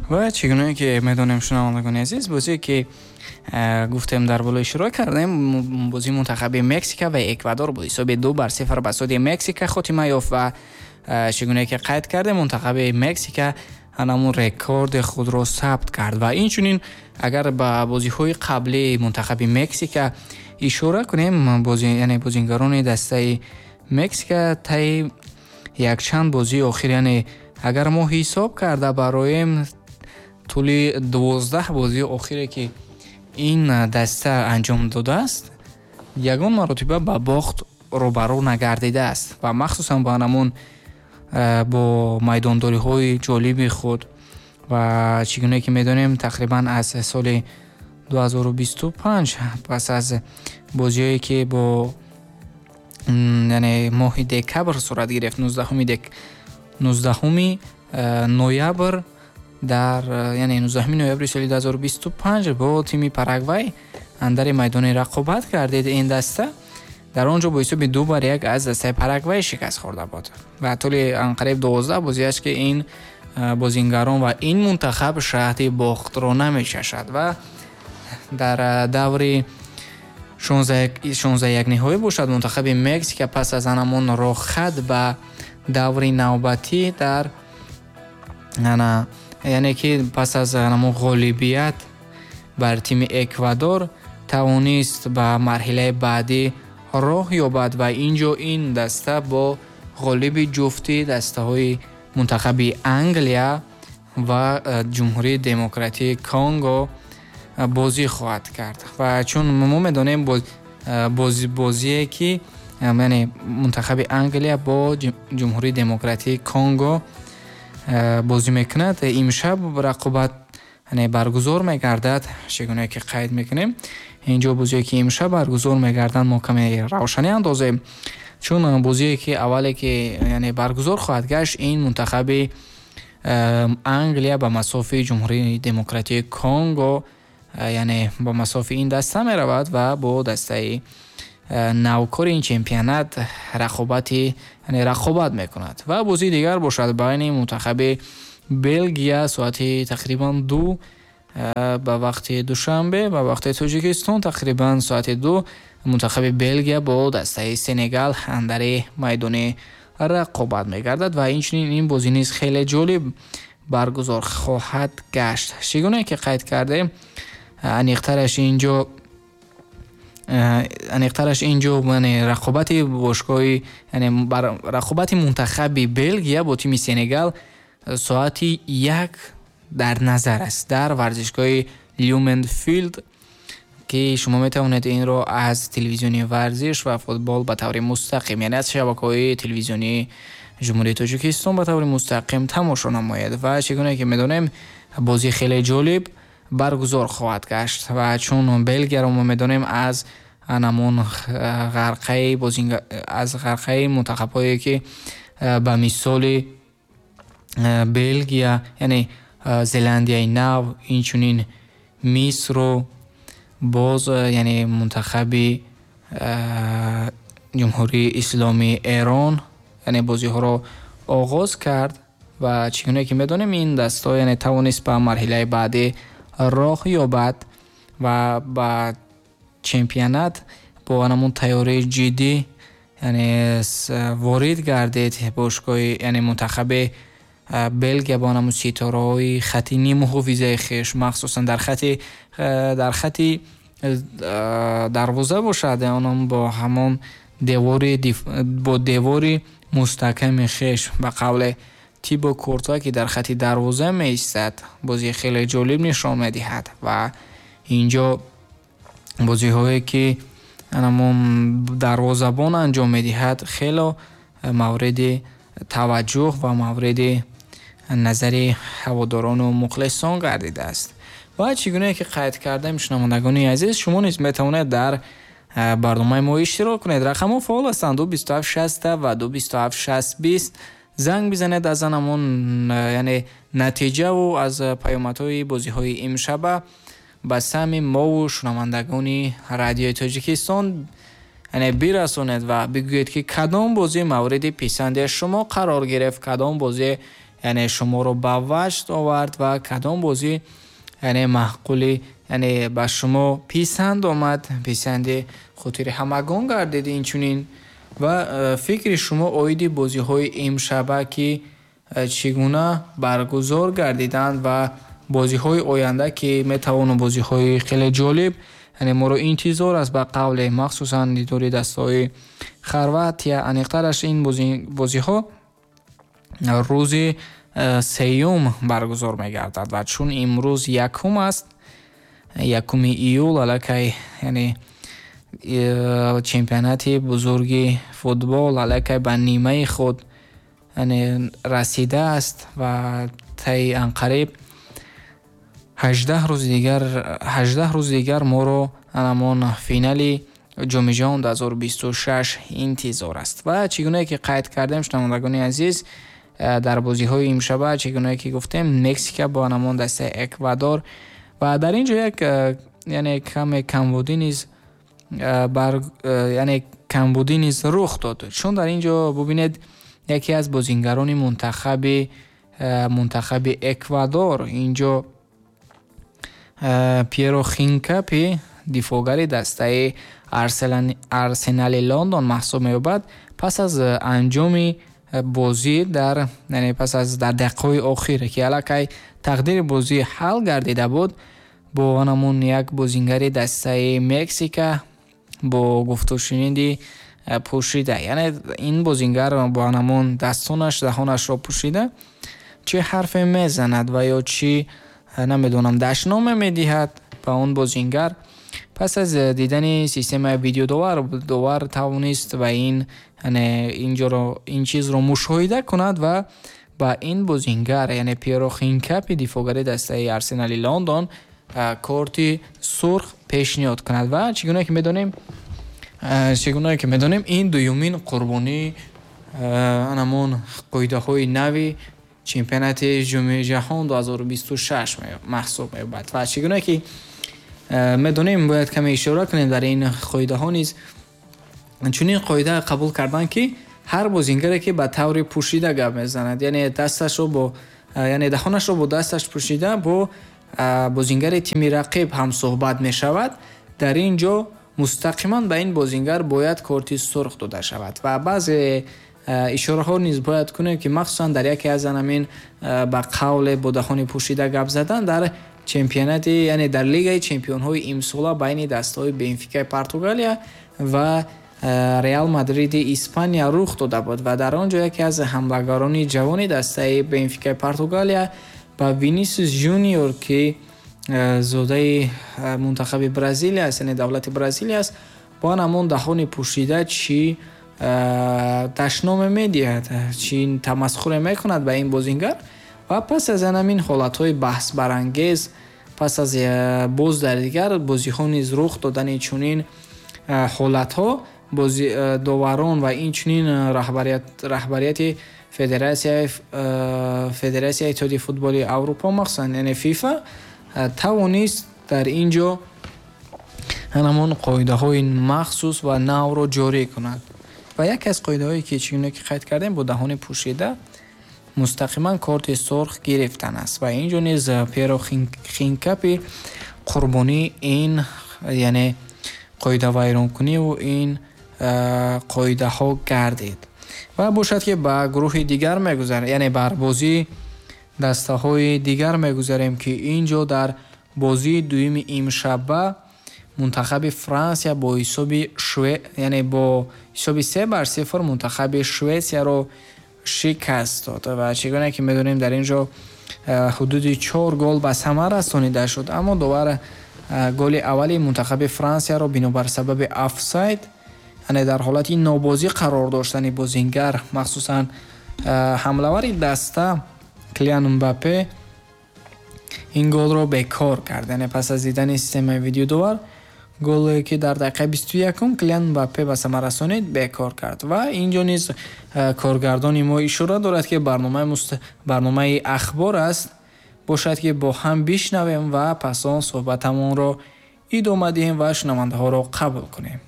Ва чӣ гуна ки медонем, шунавандагони азиз, бозие ки гуфтем, дар боло ишора кардем, бозии мунтахаби Мексика ва Эквадор бо ҳисоби 2-0 ба суди Мексика хотима ёфт. Ва чӣ гуна ки қайд кардем, мунтахаби Мексика ҳамон рекорди худро сабт кард. Ва инчунин агар ба бозиҳои қаблии мунтахаби Мексика ишора кунем, яъне бозингарони дастаи Мексика таи якчанд бозии охир, яъне агар мо ҳисоб карда бароем, тӯли 12 бозии охире ки ин даста анҷом додааст, ягон маротиба ба бохт рӯбарӯ нагардидааст. Ва махсусан ба ҳамон бо майдондориҳои ҷолиби худ. Ва чӣ гуна ки медонем, тақрибан аз соли 2025, пас аз бозиҳое ки бо, яъне моҳи декабр сурат гирифт, 19-уми ноябр дар, яъне 19 ноябри соли 2025 бо тими Парагвай андари майдони рақобат гардид ин даста. Дар он ҷо бо ҳисоби 2-1 аз дастаи Парагвай шикаст хӯрда буд. Ва тӯли анқариб 12 бозиаш ки ин бозингарон ва ин мунтахаб шаҳди бохтро намечашад. Ва дар даври 16 ниҳоӣ бошад, мунтахаби Мексика пас аз ҳамон роҳхат ба даври навбатӣ дар ана, яъне ки пас аз ҳамон ғолибият бар тими Эквадор тавонист ба марҳилаи баъдӣ роҳ ёбад. Ва ин ҷо ин даста бо ғолиби ҷуфти дастаҳои мунтахаби Англия ва Ҷумҳурии Демократии Конго бозӣ хоҳад кард. Ва чун мо медонем, бозие ки, яъне мунтахаби Англия бо Ҷумҳурии Демократии Конго бозӣ мекунад, имшаб рақобат, яъне баргузор мегардад. Чӣ гуна ки қайд мекунем, инҷо бозие ки имшаб баргузор мегарданд, мо каме равшанӣ андозем, чун бозие ки аввале ки, яъне баргузор хоҳад гашт, ин мунтахаби Англия ба масофи Ҷумҳурии Демократии Конго, яъне ба масофи ин даста меравад ва бо дастаи навкори ин чемпионат рақобати, яъне рақобат мекунад. Ва бозии дигар бошад байни мунтахаби Белгия соати тақрибан 2 ба вақти Душанбе, ба вақти Тоҷикистон тақрибан соати 2, мунтахаби Белгия бо дастаи Сенегал андари майдони рақобат мегардад. Ва инчунин ин бозӣ низ хеле ҷолиб баргузор хоҳад гашт. Чӣ гуна ки қайд кардем, аниқтараш инҷо яъне рақобати бошгоҳи, яъне рақобати мунтахаби Белгия бо тими Сенегал соати 1 дар назар аст дар варзишгоҳи Люменфилд, ки шумо метавонед инро аз телевизиони варзиш ва футбол ба таври мустақим, яъне аз шабакаҳои телевизионии Ҷумҳурии Тоҷикистон ба таври мустақим тамошо намоед. Ва чӣ гуна ки медонем, бозӣ хеле ҷолиб баргузор хоҳад гашт. Ва чун Белгияро мо медонем аз ҳамон ғарқаи аз ғарқаи мунтахабҳое ки ба мисоли Белгия, яъне Зеландияи Нав, инчунин Мисру боз, яъне мунтахаби Ҷумҳурии Исломии Эрон, яъне бозиҳоро оғоз кард. Ва чӣ гуна ки медонем, ин дастҳо, яъне тавонист ба марҳилаи баъдӣ роҳ ёбад ва ба чемпионат бо ҳамон тайёрии ҷиддӣ, яъне ворид гардид бошгоҳи, яъне мунтахаби Белгия бо ҳамон ситораҳои хати ниммуҳофизаи хеш, махсусан дар хати дарвоза бошад, онам бо ҳамон девори, бо девори мустаҳками хеш, ба қавле Тибо Куртуа, ки дар хати дарвоза меистад, бозии хеле ҷолиб нишон медиҳад. Ва инҷо бозиҳое ки ҳамон дарвозабон анҷом медиҳад, хело мавриди таваҷҷӯҳ ва мавриди назари ҳаводорону мухлисон гардидааст. Ва чӣ гуна ки қайд кардем, шунавандагони азиз, шумо низ метавонед дар барномаи мо иштирок кунед. Рақамҳо фаъол ҳастанд: 2 27 60 ва 2 27 60 20. Занг бизанед, аз ҳамон, яъне натиҷаву аз паёмадҳои бозиҳои имшаба ба самъи мову шунавандагони Радиои Тоҷикистон, яъне бирасонед ва бигӯед, ки кадом бозӣ мавриди писанди шумо қарор гирифт, кадом бозӣ, яъне шуморо ба ваҷд овард ва кадом бозӣ яъне маъқули, яъне ба шумо писанд омад, писанди хотири ҳамагон гардид инчунин, ва фикри шумо оиди бозиҳои имшаба, ки чӣ гуна баргузор гардиданд ва бозиҳои оянда, ки метавонанд бозиҳои хеле ҷолиб, яъне моро интизор аст, ба қавле махсусан дидори дастаҳои Хорватия, аниқтараш ин бозиҳо рӯзи сеюм баргузор мегардад ва чун имрӯз якум аст, 1 июл, аллакай яъне чемпионати бузурги футбол аллакай ба нимаи худ яъне расидааст ва таи анқариб 18 рӯзи дигар, 18 рӯзи дигар моро ҳамон финали Ҷоми ҷаҳон 2026 интизор аст. Ва чӣ гунае ки қайд кардем, шунавандагони азиз, дар бозиҳои имшаба, чӣ гунае ки гуфтем, Мексика бо ҳамон дастаи Эквадор ва дар ин ҷо як яъне каме камбудӣ низ бар, яъне камбудӣ низ рух дод, чун дар ин ҷо бубинед, яке аз бозингарони мунтахаби Эквадор инҷо Пьеро Хинкапи, дифоъгари дастаи Арсенали Лондон маҳсуб меёбад, пас аз анҷоми бозӣ дар, яъне пас аз дар дақиқаҳои охир, ки аллакай тақдири бозӣ ҳал гардида буд, бо ҳамон як бозингари дастаи Мексика бо гуфтушуниди пӯшида, яъне ин бозингар бо ҳамон дастонаш даҳонашро пӯшида чӣ ҳарфе мезанад ва ё чӣ намедонам дашноме медиҳад ба он бозингар. Пас аз дидани системаи видеодовар, довар тавонист ба ин, яъне инҷоро, ин чизро мушоҳида кунад ва ба ин бозингар, яъне Пьеро Хинкапи, дифоъгари дастаи Арсенали Лондон, корти сурх пешниҳод кунад. Ва чӣ гуна ки медонем, чӣ гуна ки медонем, ин дуюмин қурбонии ҳамон қоидаҳои нави чемпионати Ҷоми ҷаҳон 2026 маҳсуб меёбад. Ва чӣ гуна ки медонем, бояд каме ишора кунем, дар ин қоидаҳо низ чунин қоида қабул карданд, ки ҳар бозингаре ки ба таври пӯшида гап мезанад, яъне дасташро бо, яъне даҳонашро бо дасташ пӯшида бо бозингари тими рақиб ҳамсӯҳбат мешавад, дар ин ҷо мустақиман ба ин бозингар бояд корти сурх дода шавад. Ва баъзе ишораҳо низ бояд кунем, ки махсусан дар яке аз ҳамин ба қавле бо даҳони пӯшида гап задан дар чемпионати, яъне дар лигаи чемпионҳои имсола байни дастаҳои Бенфикаи Португалия ва Реал Мадриди Испания рух дода буд ва дар он ҷо яке аз ҳамлагарони ҷавони дастаи Бенфикаи Португалия ба Винисиус Жуниор, ки зодаи мунтахаби Бразилия аст, яъне давлати Бразилия аст, бо ҳамон даҳони пӯшида чӣ дашноме медиҳад, чӣ тамасхуре мекунад ба ин бозингар. Ва пас аз ҳамин ҳолатҳои баҳсбарангез, пас аз боз дар дигар бозиҳо низ рух додани чунин ҳолатҳо, доварон ва инчунин раҳбарияти федератсияи иттиҳоди футболи Аврупо, махсусан яъне ФИФА, тавонист дар ин ҷо ҳамон қоидаҳои махсус ва навро ҷорӣ кунад. Ва яке аз қоидаҳое ки чӣ гуна ки қайд кардем, бо даҳони пӯшида мустақиман корти сурх гирифтан аст. Ва ин ҷо низ Пьеро Хинкапи қурбонии ин, яъне қоидавайронкуниву ин қоидаҳо гардид. Ва бошад ки ба гурӯҳи дигар мегузарем, яъне бар бозии дастаҳои дигар мегузарем, ки ин ҷо дар бозии дуюми имшаба мунтахаби Франсия бо ҳисоби яъне бо ҳисоби 3-0 мунтахаби Шветсияро шикаст дод. Ва чӣ гуна ки медонем, дар ин ҷо ҳудуди 4 гол ба самар расонида шуд, аммо довар голи аввали мунтахаби Франсияро бинобар сабаби офсайд, яъне дар ҳолати нобозӣ қарор доштани бозингар, махсусан ҳамлавари даста Килиан Мбаппе, ин голро бекор кард. Яъне пас аз дидани системаи видеодовар голе ки дар дақиқаи 21 Килиан Мбаппе ба самар расонид, бекор кард. Ва ин ҷо низ коргардони мо ишора дорад, ки барномаи ахбор аст, бошад ки бо ҳам бишнавем ва пас он суҳбатамонро идома диҳем ва шунавандаҳоро қабул кунем.